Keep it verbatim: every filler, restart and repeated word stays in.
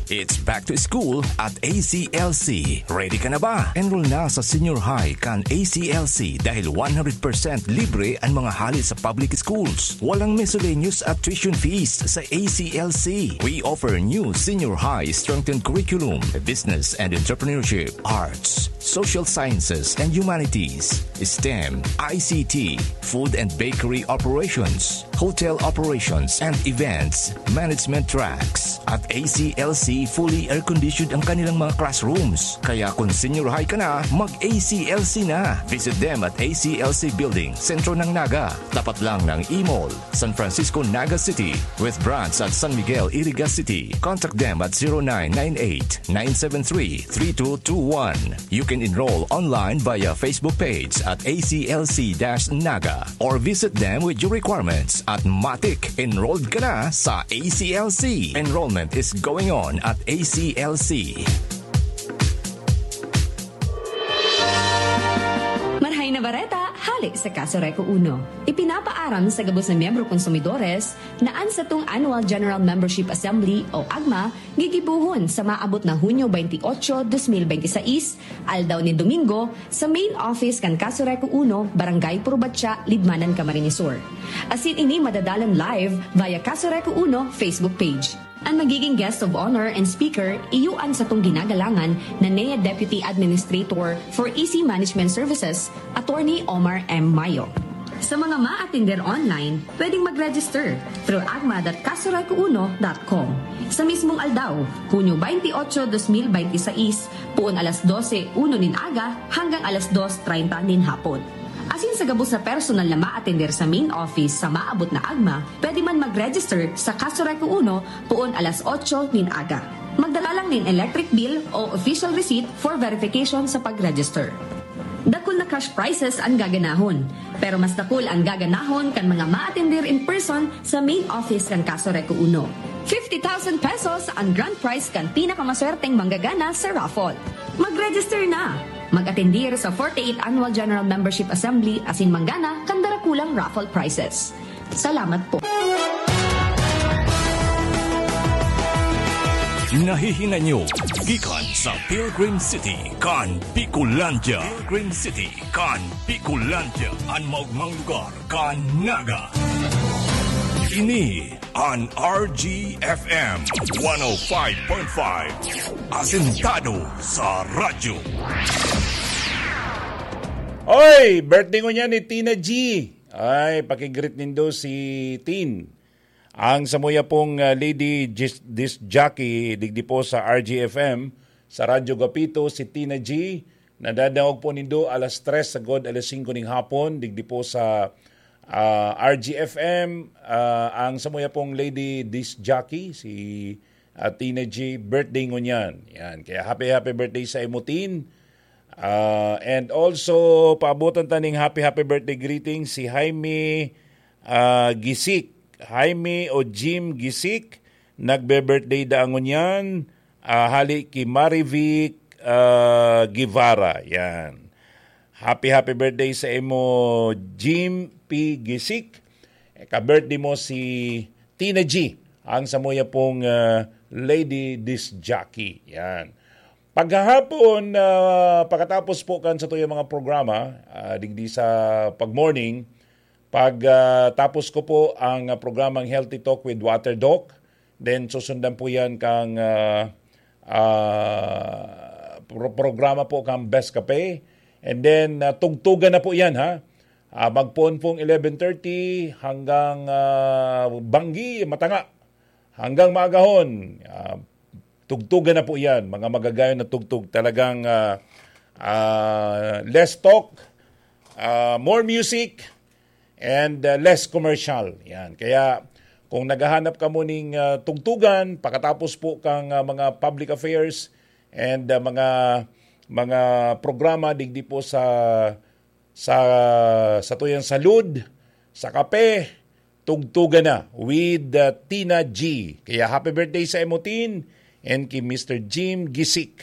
It's back to school at A C L C. Ready ka na ba? Enroll na sa senior high kan A C L C dahil one hundred percent libre ang mga hali sa public schools. Walang miscellaneous at tuition fees sa A C L C. We offer new senior high strengthened curriculum, business and entrepreneurship, arts, social sciences and humanities, STEM, I C T, food and bakery operations, hotel operations and events management tracks. At A C L C, fully air-conditioned ang kanilang mga classrooms. Kaya kung senior high ka na, mag-A C L C na. Visit them at A C L C Building, sentro ng Naga. Tapat lang ng E-Mall, San Francisco, Naga City, with branch at San Miguel, Iriga City. Contact them at zero nine nine eight, nine seven three, three two two one. You can enroll online via Facebook page at A C L C dash Naga or visit them with your requirements at Matik. Enrolled ka na sa A C L C. Enrollment is going on at A C L C. Marhay na bareta, hale sa Casureco Uno. Ipinapaaram sa gabos na miyembro konsumidores na an satong Annual General Membership Assembly o AGMA gigibohon sa maabot na Hunyo twenty-eight, twenty twenty-six, aldaw nin Domingo, sa main office kan Casureco Uno, Barangay Purbatya, Libmanan, Camarines Sur. Asin ini madadalan live via Casureco Uno Facebook page. An magiging guest of honor and speaker, iyo an satong ginagalangan na N E A Deputy Administrator for E C Management Services, Attorney Omar M. Mayo. Sa mga maatender online, pwedeng mag-register through agma dot casureco uno dot com. Sa mismong aldaw, Hunyo twenty-eight, twenty twenty-six, poon alas dose uno nin aga hanggang alas dos treinta nin hapon. Asin sa gabos na personal na maatender sa main office sa maabot na agma, pwede man mag-register sa Casureco Uno poon alas otso nin aga. Magdala lang nin electric bill o official receipt for verification sa pag-register. Dakul na cash prizes an gaganahon, pero mas dakul an gaganahon kan mga maatender in person sa main office kan Casureco Uno. Fifty thousand pesos an grand prize kan pinakamaswerteng manggagana sa raffle. Mag-register na! Mag-atendir sa forty-eighth Annual General Membership Assembly asin manggana kan darakulang raffle prizes. Salamat po. Nahihinay nyo gikan sa Pilgrim City kan Bicolandia. Pilgrim City kan Bicolandia, an maogmang lugar kan Naga. Ini an R G F M one oh five point five. Asentado sa radyo. Oy, birthday ngunyan ni Tina G. Ay, pakigreet nindo si Tin. Ang samuya pong, ah, lady dis-, disc jockey digdi po sa R G F M, sa Radyo Gapito, si Tina G. Nadadangog po nindo alas tres sagod alas singko ning hapon, digdi po sa, ah, R G F M. Ah, ang samuya pong lady disc jockey, si, ah, Tina G, birthday ngunyan. Yan. Kaya happy, happy birthday sa imo, Tin. Ah, and also, paabotan ta ning happy, happy birthday greeting si Jaime, ah, Gisik. Jaime o Jim Gisik, nagbe-birthday daa ngunyan, ah, hali ki Marivic, ah, Guevara. Yan. Happy, happy birthday sa imo, Jim P. Gisik. Eh, ka-birthday mo si Tina G, ang samuya pong, ah, lady disc jockey. Yan. Paghahapon, ah, pagkatapos po kan satuyang mga programa, ah, digdi sa pag-morning, pag, ah, tapos ko po ang, ah, programang Healthy Talk with Water Doc, then susundan po yan kang, ah, ah, pro-, programa po kang Best Cafe, and then, ah, tugtugan na po yan, ha? Ah, magpoon pong eleven thirty hanggang, ah, banggi, matanga. Hanggang maagahon, ah, tugtugan na po yan, mga magagayon na tugtog. Talagang, ah, ah, less talk, ah, more music, and, ah, less commercial. Yan. Kaya kung naghahanap ka mo ning, ah, tugtugan, pagkatapos po kang, ah, mga public affairs and, ah, mga, mga programa digdi po sa, sa, sa tuyang salud, sa kape, tugtugan na with, ah, Tina G. Kaya happy birthday sa imo, Tin, and kay Mister Jim Gisik.